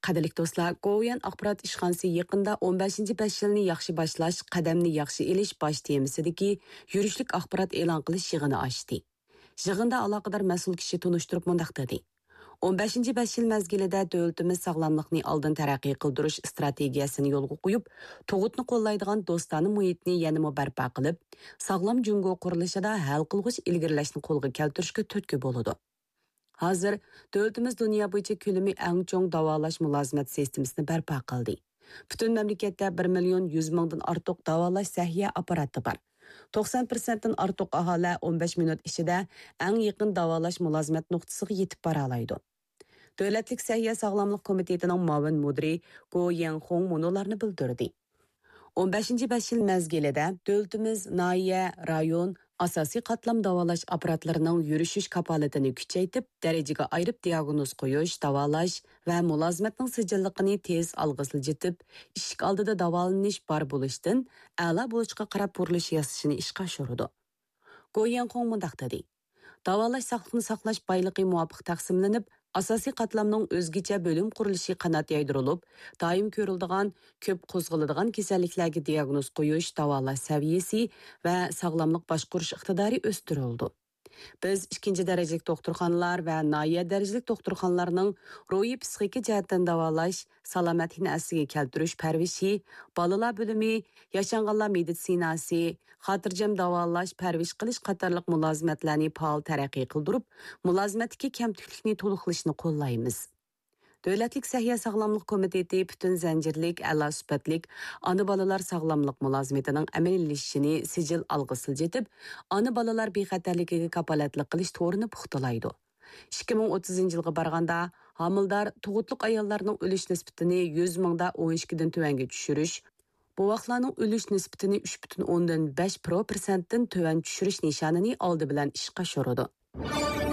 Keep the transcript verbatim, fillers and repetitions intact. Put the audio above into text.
قەدىرلىك دوستلار، گوۋۇيۈەن ئاخبارات ئىشخانىسى يېقىندا ئون بەشىنچى بەش يىلنى ياخشى باشلاش، قەدەمنى ياخشى ئېلىش باش تېمىسىدىكى يۈرۈشلۈك ئاخبارات ئېلان قىلىش يىغىنى ئاچتى. يىغىندا ئالاقىدار مەسئۇل كىشى تونۇشتۇرۇپ مۇنداق دېدى: «ئون بەشىنچى بەش يىل مەزگىلىدە دۆلىتىمىز ساغلاملىقنى ئالدىن تەرەققىي قىلدۇرۇش ئىستراتېگىيەسىنى يولغا قويۇپ، تۇغۇتنى قوللايدىغان دوستانە مۇھىتنى يەنىمۇ بەرپا قىلىپ، ساغلام جۇڭگو قۇرۇلۇشىدا ھەل قىلغۇچ ئىلگىرىلەشنى قولغا كەلتۈرۈشكە تۈرتكە بولىدۇ.» ھازىر دۆلىتىمىز دۇنيا بويىچە كۆلىمى ئەڭ چوڭ داۋالاش مۇلازىمەت سىستېمىسىنى بەرپا قىلدى. پۈتۈن مەملىكەتتە بىر مىليون يۈز مىڭدىن ئارتۇق داۋالاش سەھىيە ئاپپاراتى بار. توقسان پىرسەنتتىن ئارتۇق ئاھالە ئون بەش مىنۇت ئىچىدە ئەڭ يېقىن داۋالاش مۇلازىمەت نۇقتىسىغا يېتىپ بارالايدۇ. دۆلەتلىك سەھىيە ساغلاملىق كومىتېتىنىڭ مۇئاۋىن مۇدىرى گو يەنخۇڭ مۇنۇلارنى بىلدۈردى: «ئون بەشىنچى بەش يىل مەزگىلىدە دۆلىتىمىز ناھىيە، رايون، ئاساسىي قاتلام داۋالاش ئاپپاراتلىرىنىڭ يۈرۈشۈش كاپالىتىنى كۈچەيتىپ، دەرىجىگە ئايرىپ دىياگنوز قويۇش، داۋالاش ۋە مۇلازىمەتنىڭ سىجىللىقىنى تېز ئالغا سىلجىتىپ، ئىشىك ئالدىدا داۋالىنىش بار بولۇشتىن ئەلا بولۇشقا قاراپ بۇرۇلۇش ياسىشىنى ئىشقا ئاشۇرىدۇ.» گو يەنخۇڭ مۇنداق دېدى: «داۋالاش ساقلىقنى ساقلاش بايلىقى مۇۋاپىق تەقسىملىنىپ، ئاساسىي قاتلامنىڭ ئۆزگىچە بۆلۈم قۇرۇلۇشى قانات يايدۇرۇلۇپ، دائىم كۆرۈلىدىغان، كۆپ قوزغىلىدىغان كېسەللىكلەرگە دىياگنوز قويۇش، داۋالاش سەۋىيەسى ۋە ساغلاملىق باشقۇرۇش ئىقتىدارى ئۆستۈرۈلىدۇ. بىز ئىككىنچى دەرىجىلىك دوختۇرخانىلار ۋە ناھىيە دەرىجىلىك دوختۇرخانىلارنىڭ روھىي پسىخىكا جەھەتتىن داۋالاش، سالامەتلىكنى ئەسلىگە كەلتۈرۈش پەرۋىشى، بالىلار بۆلۈمى، ياشانغانلار مېدىتسىناسى، خاتىرجەم داۋالاش، پەرۋىش قىلىش قاتارلىق مۇلازىمەتلەرنى پائال تەرەققىي قىلدۇرۇپ، مۇلازىمەتتىكى كەمتۈكلۈكنى تولۇقلىشىنى قوللايمىز.» دۆلەتلىك سەھىيە ساغلاملىق كومىتېتى پۈتۈن زەنجىرلىك، ئەلا سۈپەتلىك ئانا بالىلار ساغلاملىق مۇلازىمىتىنىڭ ئەمەلىيلىشىشىنى سىجىل ئالغا سىلجىتىپ، ئانا بالىلار بىخەتەرلىكىگە كاپالەتلىك قىلىش تورىنى پۇختىلايدۇ. ئىككى مىڭ ئوتتۇزىنچى يىلغا بارغاندا، ھامىلىدار تۇغۇتلۇق ئاياللارنىڭ ئۆلۈش نىسبىتىنى يۈز مىڭدا ئون ئىككىدىن تۆۋەنگە چۈشۈرۈش، بوۋاقلارنىڭ ئۆلۈش نىسبىتىنى ئۈچ پۈتۈن ئوندىن بەش پىرسەنتتىن تۆۋەن چۈشۈرۈش نىشانىنى ئالدى بىلەن ئىشقا ئاشۇرىدۇ.